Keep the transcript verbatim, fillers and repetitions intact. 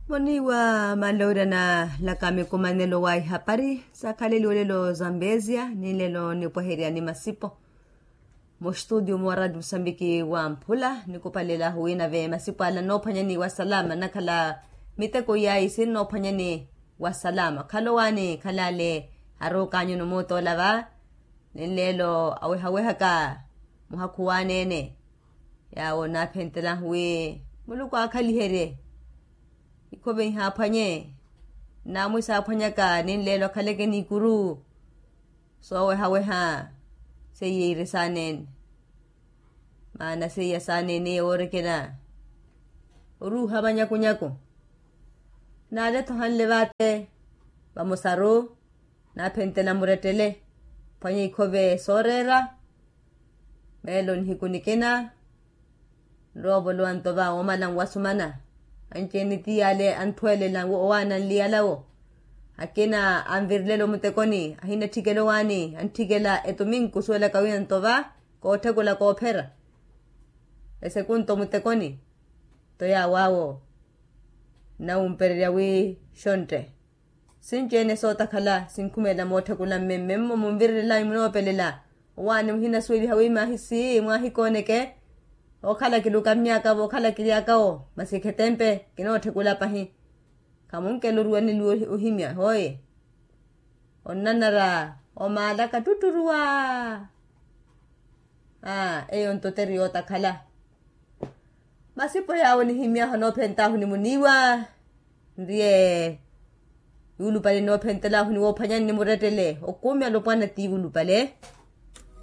Muniiwa malowira na laka mikumanelo wa ihapari sakhaleliwe olelo zambezia ni nlelo nipweherya ni masipo. Mustutio mwa radio musambiki wa mphula nikupalela huwina ve masipo ala noophwanyani wa salama nakhala miteko yayi sinnoophwanyani wa salama khalo waani khalale aruukanyu numuutola va. Ni nlelo awehawehaka muhakhu waaneene. Yaawo naaphentelahu wi muluku aakhaliherye ikhove ihaaphwanye. Naamwi saaphwanyaka ni nlelo akhaleke n'ikuru soowehaweha seiye iire saaneene. Maana seiya saaneene eyo woorekena oruuha vanyakunyaku. Naaletha ohanle vaate vamosaru naaphentela murettele phwanya ikhove sooreera. Meelo nihiku nikina nroovolowa ntova woomala nwasumana anci-ene tiyale anthwelela owaana nliyalawo. Akina anvirilelo mutekoni ahina etthikelo waani antthikela etuminku suwelaka wina ntova kootthekula koophera esekunto mutekoni. Nto yaawo awo nnawumpererya wi xontte sinci-ene sootakhala sinkhumelela mootthekula mmemme mmo munvirirelani munoopelela. Owaani muhinasuweliha wi maahisi mwaahikooneke. Ookhala kiluka mnyaaka vookhala kiryaka wo masi khetempe kinootthekula pahi. Khamunkeluruwa niluwe ohimya hooye onnanara omaalaka tutturuwa. Aa eyo ntotteri yootakhala. Masipo yaawo nihimyahu anoophentaahu ni muniiwa nriye yuulupale nnoophentelahu ni woophwanyani ni murettele okuumi alopwana ti yuulupale.